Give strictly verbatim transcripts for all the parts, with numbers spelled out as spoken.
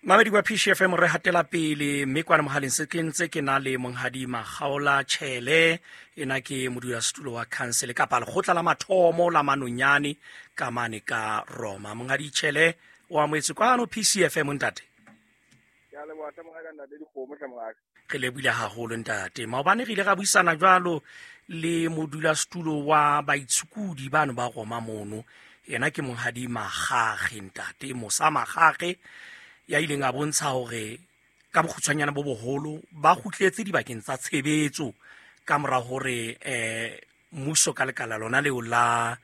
Mamedi wa P C F M, re hatela pele mme kwana mohaleng se ke ntse ke na le Monghadi Makgaola Tjhele, ena ke modulasetulo wa council kapa lekgotla la mathomo la Manonyane ka mane ka Roma. Monghadi Tjhele, o amohetse kwano P C F M ntate. Ke a leboha hle mongaka, ntate Dikgomo hle mongaka. Re lebohile haholo ntate. Maobane re ile ra buisana jwalo le modulasetulo wa baitshokodi bano ba Roma mono. Yena ke Monghadi Makgakge ntate, Mosa Makgakge, ya ileng a bontsha hore ka bokgutshwanyane bo boholo ba kgutletse dibakeng tsa tshebetso ka mora hore eh mmuso ka lekala lona leo la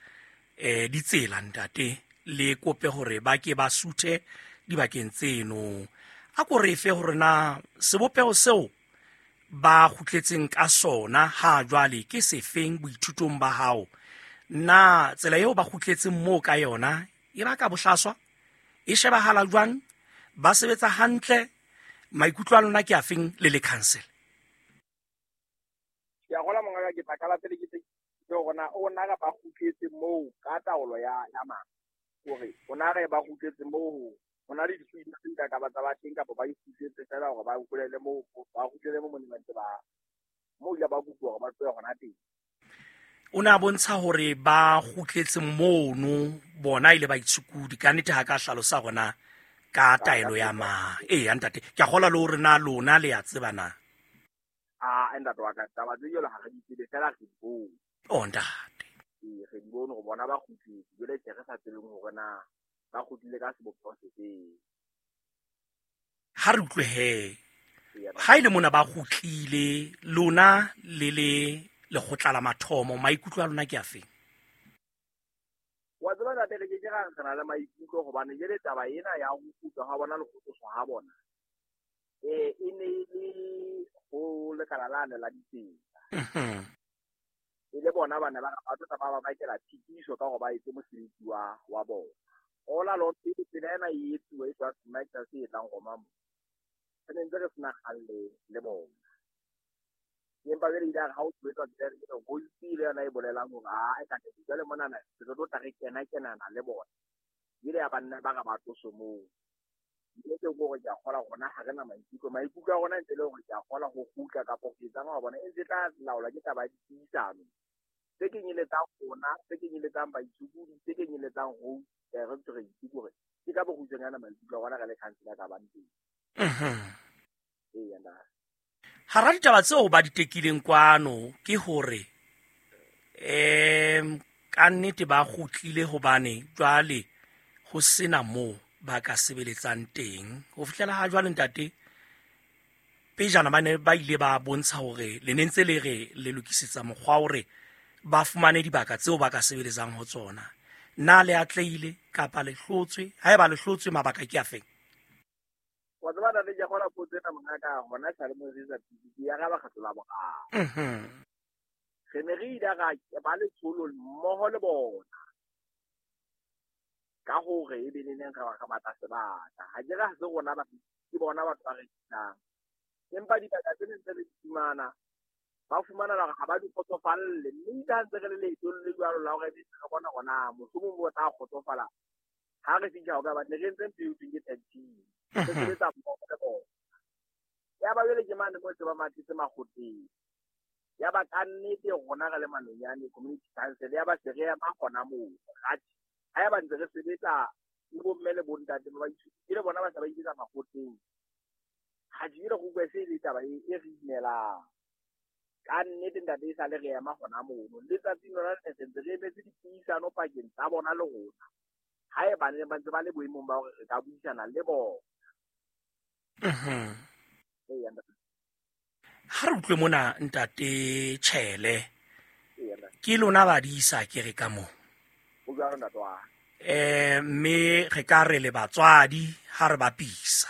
eh ditsela ntate le kope hore ba ke ba suthe dibakeng tseno. A ko re fe hore na sebopeho seo ba kgutletseng ka sona ha jwale ke sefeng boithutong ba hao? Na tsela eo ba kgutletseng moo ka yona e baka bohlaswa? E shebahala jwang? Ba sebetsa hantle? Maikutlo a lona ke a feng le le council? Ke a gola mongaka, ke tla qala pele ke tse ke hore na o na re ba kgutletse moo ka taolo ya ya mang? Hore o na re ba kgutletse moo, ho na le dithuto tse ka ka ba tsa ba teng kapa ba ikgutletse fela hore ba kgutlele moo, ba kgutlele moo mo neng ba ntse ba moo ile ba kopuwa hore ba tlohe hona teng. O ne a bontsha hore ba kgutletse mono bona ile ba itshukudi ka nnete ha ka hlalosa hore na ka taelo ya mang. Ee, ntate, ke a kgolwa le hore na lona le a tseba na? Ah, ntate wa ka, taba tse jwalo ha re di tsebe, fela re di bone. Oh, ntate. Ee, re di bone hore bona ba kgutletse, jwale tje re sa tsebeng hore na ba kgutlile ka sebopeho sefeng. Ha re utlwe he, ha e le mona ba kgutlile, lona le le lekgotla la mathomo, maikutlo a lona ke a feng? Wa tseba ntate, re ke ke ra re na le maikutlo hobane jwale taba ena ya ho kgutla ha bona le ho tloswa ha bona, eh, e ne e le ho lekala lane la ditsela. Mhm. E le bona ba ne ba re ba tlo tla ba ba bakela tshitiso ka hore ba etse mosebetsi wa, wa bona. Hola lo pele tsela ena e etsuwa e tswa Smack se e tlang Roma mo. Re ne ntse re sena kgang le, le bona. Empa jwale ile ya re ha o tswetswa tsela ena, ke ho itse le yona e bolelang hore, ah, e ka teng. Jwale monana re tlo tla re kena kenana le bona. Ile ya ba nna ba re ba tlose moo. Mme ke hore ke a kgolwa rona ha re na maikutlo. Maikutlo a rona ntse le hore ke a kgolwa ho kgutla kapa ho etsang wa bona e ntse tla laolwa ke taba ya dipuisano. Tse kenyeletsang rona, tse kenyeletsang baitshokodi, tse kenyeletsang ho, eh, re ntse re itse hore ke ka bokgutshwanyane maikutlo a rona re le council ka bang teng. Mhm. Ee, nna. Hara ditaba tseo ba di tekileng kwano ke hore, em, ka nnete ba kgutlile hobane jwale ho sena moo ba ka sebeletsang teng. Ho fihlela ha jwale ntate, pejana ba ne ba ile ba bontsha hore le ne ntse le re le lokisetsa mokgwa hore ba fumane dibaka tseo ba ka sebeletsang ho tsona. Na le atlehile kapa le hlotswe? Haeba le hlotswe, mabaka ke a feng? Wa tseba ntate, ke a kgolwa potso ena mongaka, hona esale mo re etsa P C P, ya araba kgetlo la boraro. Mhm. Re ne re ile ra ba letsholo mmoho le bona ka hore e be neneng re ba re batla sebaka. Ha ke re ha se rona ba, ke bona batho ba rekisang. Empa dibaka tse neng tse re di fumana, ba fumana hore ha ba di kgotsofalle. Mme itse ha ntse re le leetong le jwalo la hore re bona hore na mohlomong bo tla kgotsofala. Ha re fihla ho ka ba ne re entse ntho eo thweng ke tag team. Re Mhm. sebetsa mmoho le bona. Ya ba jwale ke mane moo se ba mathetse makgotleng. Ya ba ka nnete rona re le Manonyane Community Council, ya ba se re ema hona moo. Atjhe, ha eba ntse re sebetsa le bomme le bontate ba baithuti, ke le bona ba se ba iketsa makgotleng. Ha ke re go utlwa se e le taba e, e re imelang. Ka nnete ntate e sale re ema hona mono. Letsatsing lona le ntse re emetse dipuisano pakeng tsa bona le rona. Ha eba ne ba ntse ba le boemong ba hore re ka buisana le bona. Mhm. Ee, ntate. Ha re utlwe mona ntate Tjhele. Ee, ntate. Ke lona badisa ke re ka moo. Ho jwalo ntate wa ka. Eh, mme re ka re le batswadi ha re bapisa.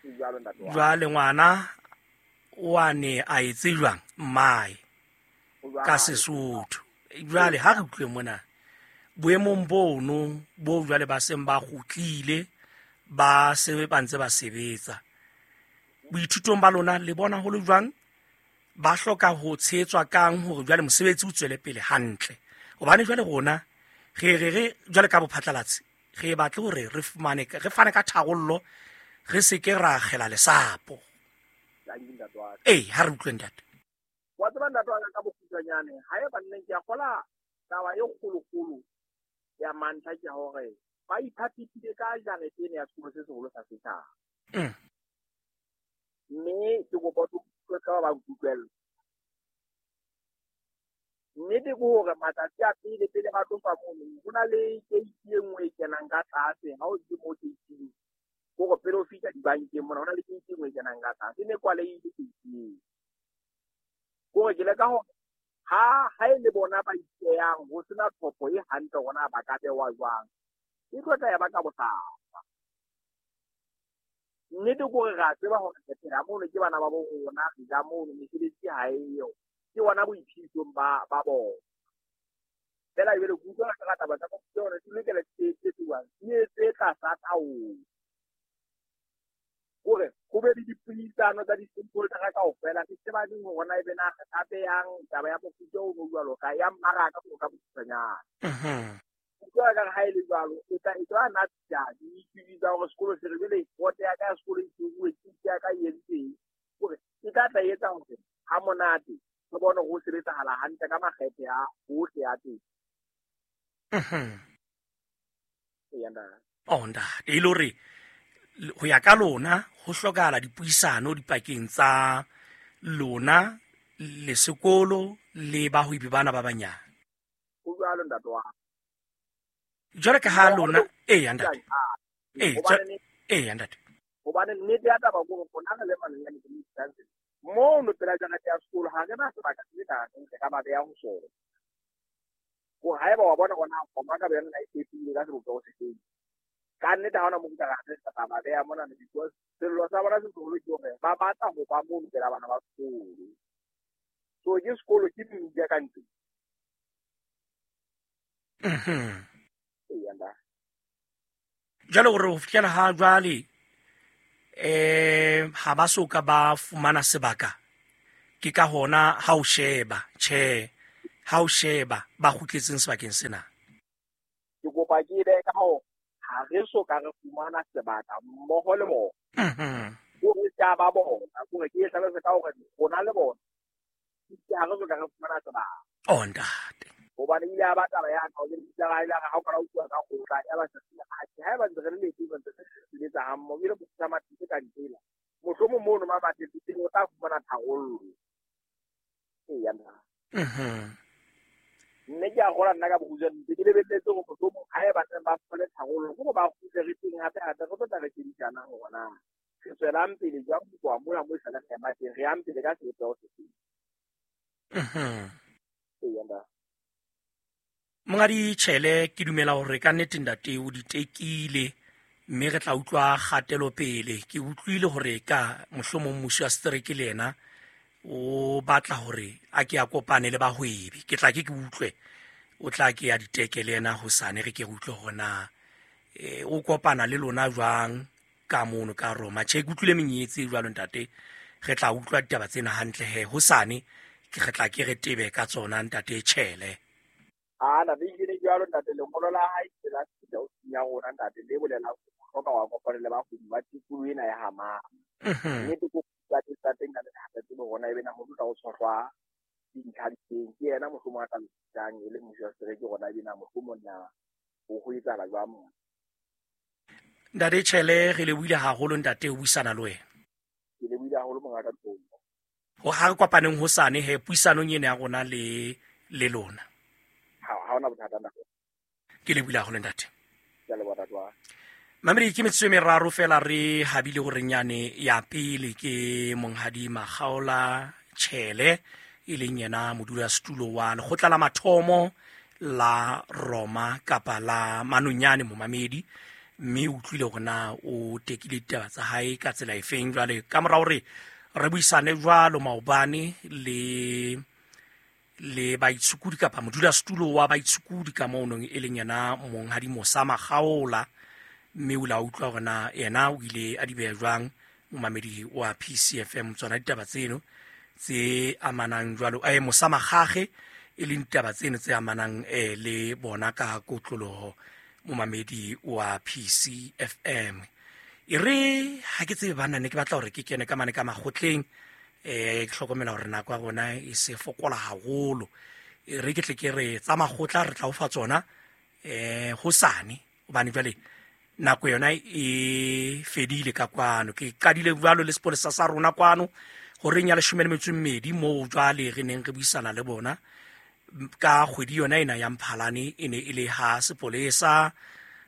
Ho jwalo ntate wa ka. Jwale ngwana o a ne a etse jwang mmae Ho jwalo. ka Sesotho. Jwale ha re utlwe mona boemong bono bo jwale ba seng ba kgutlile, ba se ba ntse ba sebetsa. Boithutong ba lona le bona ho le jwang? Ba hloka ho tshehetswa kang hore jwale mosebetsi o tswele pele hantle? Hobane jwale rona re re re jwale ka bophatlalatsi re batle hore re fumane, re fane ka tharollo re se ke ra akgela lesapo. Ee, ha re utlwe ntate. Wa tseba ntate wa ka ka bokgutshwanyane, ha e ba nneng ke a kgola taba e kgolokgolo ya mantlha ke hore ba iphaphile ka jarete ena ya sekolo se seholo sa setjhaba. Mm. Mme ke kopa o utlwe ka ba nkutlwella. Nnete ke hore matsatsi a pele pele ba tlosa mono, ho na le keiti e nngwe e kenang ka tlase. Ha o ntse mo keiting, hore pele o fihla dibankeng mona, ho na le keiti e nngwe e kenang ka tlase. E ne kwalehile keiti eo. Kore ke leka hore ha ha e le bona ba ipeyang ho sena tlhopho e hantle hore na ba ka bewa jwang, e tlo tla ya ba ka bohlaswa. Nnete ke hore re a tseba hore re phela mono ke bana ba bo rona, re ja mono, mesebetsi ha eyo. Ke bona boiphedisong ba ba bona. Feela jwale ke utlwa ka taba tsa hore di lokela di etsuwang, di etse tlasa taolo. Hore ho be le dipuisano tsa di-stakeholder kaofela, re tsebaneng hore na ebe na re ka beyang taba ya mofuta ono jwalo ka ya mmaraka ho ka bokgutshwanyane. Mhm. Utlwa ka ha e le jwalo, e tla e tla na tsa di tsa hore sekolo se re jwale vote ya ka ya sekolo e tsuwe, ke ya ka e entseng. Hore e tla tla etsa hore ha monate re bone ho sebetsahala hantle ka makgethe a bohle a teng. Mhm. Eya, ntate. Oh, ntate, e le hore ho ya ka lona ho hlokahala dipuisano dipakeng tsa lona le sekolo le bahwebi bana ba banyane. Ho jwalo, ntate wa ka. Jwale ka ha lona, eya, ntate. Ee, Hobane eya, ntate. Hobane nnete ya taba ke hore rona re le Manonyane Community Council, mono pela jarete ya sekolo ha re na sebaka se ka reng re ka ba beha ho sona. Hore haeba wa bona hore na kgomo ka boyona e fepile ka sebopeho se feng, ka nnete ha hona moo ka re tla ba beha mona, because sello sa bona se seholo ke hore ba batla ho ba mono pela bana ba sekolo. So ke sekolo ke mmila ka ntle. Mhm. Eya, ntate. Jwale hore ho fihlela ha jwale eh ha ba so ka ba fumana sebaka, ke ka hona ha o sheba, tjhe, ha o sheba ba kgutletseng sebakeng sena. Ke kopa ke be ka hore ha re so ka re fumana sebaka mmoho le bona. Mhm. Hore tsa ba bona, hore ke e hlalose ka hore rona le bona, ke ha re so ka re fumana sebaka. Oh, ntate. Hobane ile ya ba taba ya ka, hore ile ya ba ha o ka utlwa ka kgotla, ya ba se ha ke ha ba ntse re le teng, ba ntse re sebetsa ha mmoho, ebile bo tsa mathe ka ntsela. Mohlomong mono ma batle teng o tla fumana tharollo. Eya, ntate. Mhm. Mme ke a kgolwa nna ka bokgutshwane, ntse ke lebelletse hore mohlomong ha eba neng ba fumane tharollo, ke hore ba kgutle re teng hape hape, re tlo tla re shebisana hore na re tswelang pele jwang ho tloha mona moo esale re ema teng, re yang pele ka sebopeho se feng. Mhm. Eya, ntate. Monghadi Tjhele, ke dumela hore ka nnete ntate o di tekile, mme re tla utlwa kgatelopele. Ke utlwile hore ka mohlomong mmuso wa setereke le yena o batla hore a ke a kopane le bahwebi. Ke tla ke ke utlwe, o tla ke ya diteke le yena hosane, re ke re utlwe hore na, eh, o kopana le lona jwang ka mono ka Roma. Tjhe, ke utlwile menyetsi e jwalo ntate, re tla utlwa ditaba tsena hantle he hosane, ke re tla ke re tebe ka tsona ntate Tjhele. Ah, ntate, e kene jwalo ntate, lengolo la hae ke la fihla ofising ya rona ntate, le bolelang hore o hloka wa kopana le bahwebi ba tikoloho ena ya Hamama. Mhm. Nnete ke tsa teng tsa teng ntate, ha re tsebe hore na ebe na ho tla ho tshohlwa dintlha di teng. Ke yena mohlomong a tla lokisang e le mmuso wa setereke hore na ebe na mohlomong na ho ho etsahala jwang mona. Ntate Tjhele, re lebohile haholo ntate ho buisana le wena. Ke lebohile haholo mongaka Ntombo. Ho ha re kopaneng hosane he puisanong ena ya rona le, le lona. Ha, ha hona bothata ntate. Ke lebohile haholo ntate. Ke a leboha ntate wa. Mamedi, ke metsotso e meraro fela re habile hore nyane ya pele ke Monghadi Makgaola Tjhele, e leng yena modulasetulo wa lekgotla la mathomo la Roma kapa la Manonyane momamedi, mme o utlwile hore na o tekile ditaba tsa hae ka tsela efeng. Jwale ka mora hore re buisane jwalo maobane le, le baitshokodi kapa modulasetulo wa baitshokodi ka mono e leng yena Monghadi Mosa Makgaola, mme o la utlwa hore na yena o ile a di beha jwang momamedi wa P C F M tsona ditaba tseno tse amanang jwalo, eh, Mosa Makgakge, e leng ditaba tseno tse amanang, eh, le bona ka kotloloho momamedi wa P C F M. E re ha ke tsebe banna ne ke batla hore ke kene ka mane ka makgotleng, eh ke hlokomela hore nako ya rona e se fokola haholo. E re ke tle ke re tsa makgotla re tla o fa tsona eh hosane, hobane jwale nako yona e fedile ka kwano. Ke qadile jwalo le sepolesa sa rona kwano horeng ya leshome le metso e mmedi, moo jwale re neng re buisana le bona ka kgwedi yona ena ya Mphalane. E ne e le ha sepolesa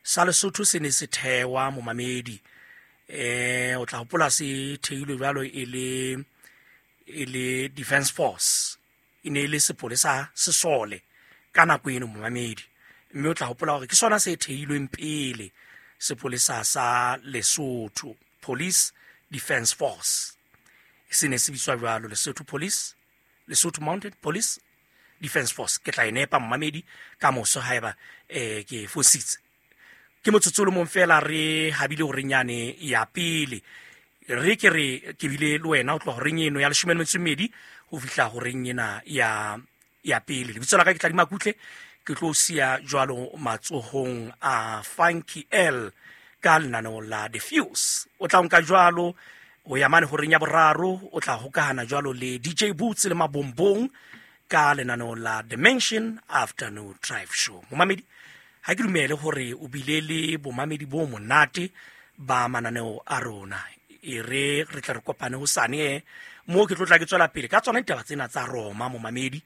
sa Lesotho se ne se thewa momamedi. Eh o tla hopola se theilwe jwalo e le e le Defence Force, e ne e le sepolesa sesole ka nako eno momamedi. Mme o tla hopola hore ke sona se theilweng pele sepolesa sa Lesotho, Police Defence Force, se ne se bitswa jwalo, Lesotho Police, Lesotho Mounted Police Defence Force. Ke tla e nepa momamedi ka moso haeba eh ke fositse. Ke motsotso o le mong fela re habile horeng yane ya pele. Re ke re ke bile le wena o tloha horeng eno ya leshome le metso e mmedi ho fihla horeng ena ya ya pele. Lebitso la ka ke Tladima Kutle, ke tlo siya jwalo matsohong a Funky L ka lenaneo la The Fuse. O tla nka jwalo ho ya mane horeng ya boraro, o tla hokahana jwalo le D J Boots le Mabombong ka lenaneo la Dimension Afternoon Drive Show. Momamedi, ha ke dumele hore o bile le bomamedi bo monate ba mananeo a rona. E re re tla re kopane hosane, eh, moo ke tlo tla ke tswela pele ka tsona ditaba tsena tsa Roma momamedi,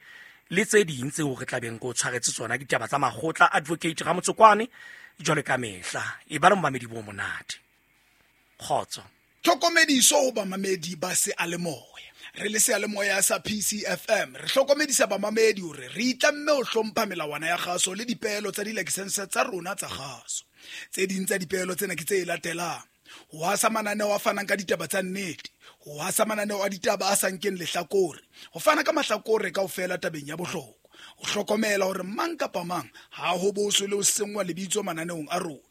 le tse ding tseo re tla beng ko tshwaretse tsona, ditaba tsa makgotla, Advocate Ramotsokwane jwalo ka mehla. E ba le momamedi bo monate. Kgotso. Tlhokomediso ho bamamedi ba seyalemoya. Re le seyalemoya sa P C F M, re hlokomedisa bamamedi hore re itlamme ho hlompha melawana ya kgaso le dipeelo tsa dilakesense tsa rona tsa kgaso. Tse ding tsa dipeelo tsena ke tse latelang: ho hasa mananeo a fanang ka ditaba tsa nnete, ho hasa mananeo a ditaba a sa nkeng lehlakore, ho fana ka mahlakore kaofela tabeng ya bohlokwa, ho hlokomela hore mang kapa mang ha ho boswe le ho senngwa lebitso mananeong a rona,